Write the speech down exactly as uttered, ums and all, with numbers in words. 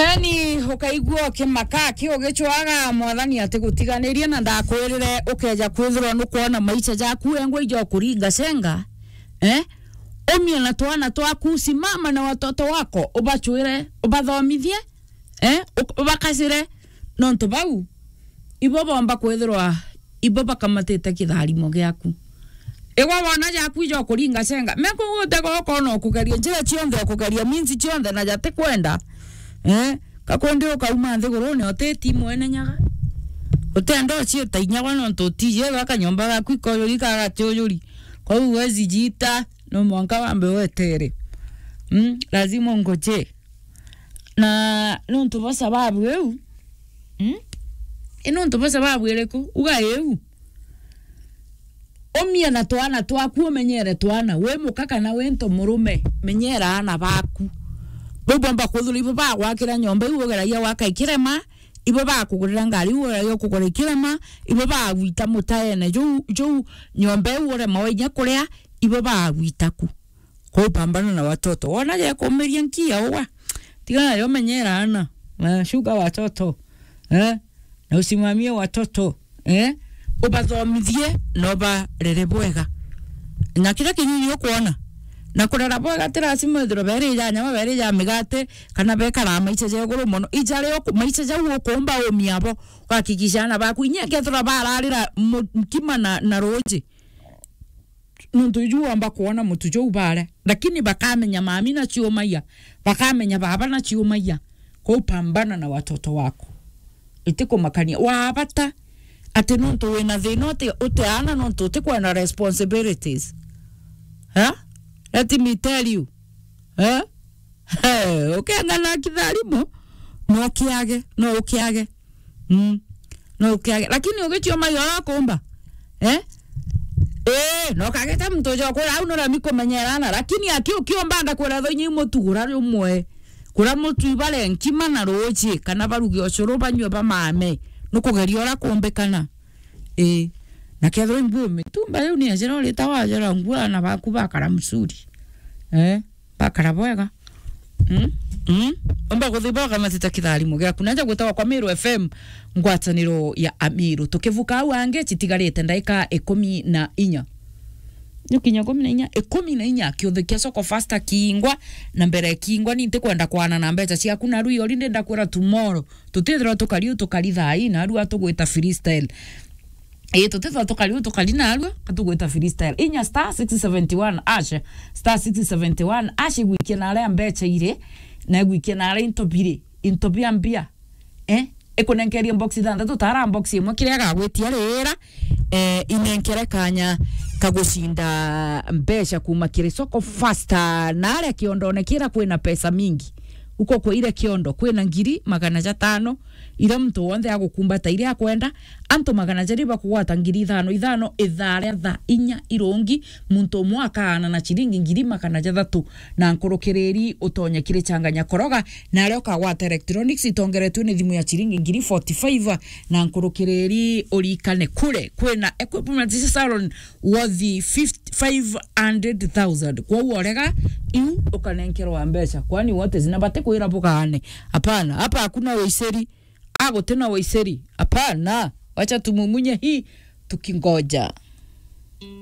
Yaani, ukaigua ukimaka ki ugicwaga, Mwathani atigutiganirie, na ndakwirire ukeja kwithirwa nukwona maisha jaku wengwa ijo kuringa cenga, eh? Umie na twana twaku, simama na watoto wako, ubachwire, ubathomithie, eh? Uk-, ubakacire, nontu bau ibo bomba kwithirwa ibo bakamatite kitharimo giaku. Igwa wona jaku ijo kuringa cenga. Meko gutego ukona ukugeria njira cionthe, ukugeria minzi cionthe na jati kwenda. Eh? Kakwendi ukauma nthigurune utiti mwene nyaga. Utenda uciita inyagwa nontu utiji ethwa kanyomba gaku ikoyuri kagatiuyuri. Kwou wezi jita, no mwanka wambe wetere. Mm? Lazima ungoje. Na nontu bwa sababu iu, mm? I nontu bwa sababu iriku? Uga iu. Umie na twana twaku, umenyere twana. Wi muka kana wi nto murume, menyera aana baku. Bau bomba kwithirwa ibo bagwakira nyomba iu ugeragia gwaka ikirema, ibo bakugurira ngari iu ugeragia kugura ikirema, ibo bagwita mutaene juu, juu nyomba iu urema wa inya kuria, ibo bagwita ku. Kwa upambana na watoto. Wona gekumiria nkia uga. Tiga nayo, menyera ana. Na shuka watoto. Eh? Na usimamie watoto. Eh? Ubathomithie na ubarere bwega. Na kiria kinyinyi ukwona. Na kurera bwega ti lazima ithirwe beri ja nyama, beri ja migate, kana bekara maisha ja iguru mono. Ija rio ku-, maisha jau ukumba umia bo. Kuhakikisha ana baku. Inya kethira bararira mu-, nkima na, na ruji. Nontu iju wamba kwona mutu juu bare, lakini bakamenya mami na ciumaia, bakamenya baba na ciumaia. Kwou pambana na watoto wako. Itikumakania. Wabata ati nontu wina thina uti, uti ana nontu utikwenda responsibilities. Ha? Let me tell you. Ha? He, ukianga na kitharimo, no kiage, no ukiage. Mm. No ukiage. Lakini ugichio mai ora kumba. Eh? Eh, no kageta mtu jo kura au no rami kumenyerana. Lakini aki ukiomba ndakwira tho inyi mutu gura rumwe. Kura mutu ibare nkima na ruji, kana baruge ucuru banywe bamame. Nukugeria ora kumbikana. Eh. Na kethirwa imbu mitumba iu ni ajira urita wajira ngua na baku bakara msuri. Eh? Bakara bwega. Mm? Mm? Omba kuthiboka matita kitharimo giaku. Naja gwitawa kwa Meru F M, ngwataniro ya Amiru. Tukivuka au angi, citigarite ndaika ikumi na inya. Nukinya ikumi na inya, ikumi na inya, kiuthi kia Soko Fasta kiingwa, na mbere kiingwa, ni ntikwenda kwana na mbeca ciaku, na rui ori ndenda kwira tomorrow. Tutithirwa tukari u tukari thaa ii, na arua tugwita freestyle. Ii, tutithwa tukari u tukari narua, ka tugwita freestyle. Inya star six seventy one hash, star six seventy one hash, igwikia na aria mbeca iri, na igwikia na aria into biri, into bia mbia. Eh? Ikunenkerie box ithanthatu, tara box imwe, kiria gagwitia rira, eh, inenkere kanya kagucinda mbeca kuma kiri Soko Fasta, na aria kiondone kira kwina pesa mingi. Uko kwa ire kiondo, kwina ngiri magana jatano, iria muntu wonthe agukumbata iria akwenda, antu magana jari bakugwata ngiri ithano ithano, ithaa ria thaa inya irungi, muntu umwe akaana na ciringi ngiri magana jathatu na nkurukiriri utonye kiri changanya koroga, na aria ukagwata electronics itongeretwe ni thimu ya ciringi ngiri forty five na nkurukiriri urikane kure kwina equipment salon worth fifty, five hundred thousand. Kwou orega, iu ukanenkerwa mbeca. Kwani what is na batikwira bugaane? Hapana, hapa hakuna uiceri. Agutina uiceri. Hapana. Wacha tumumunye hii tukingoja.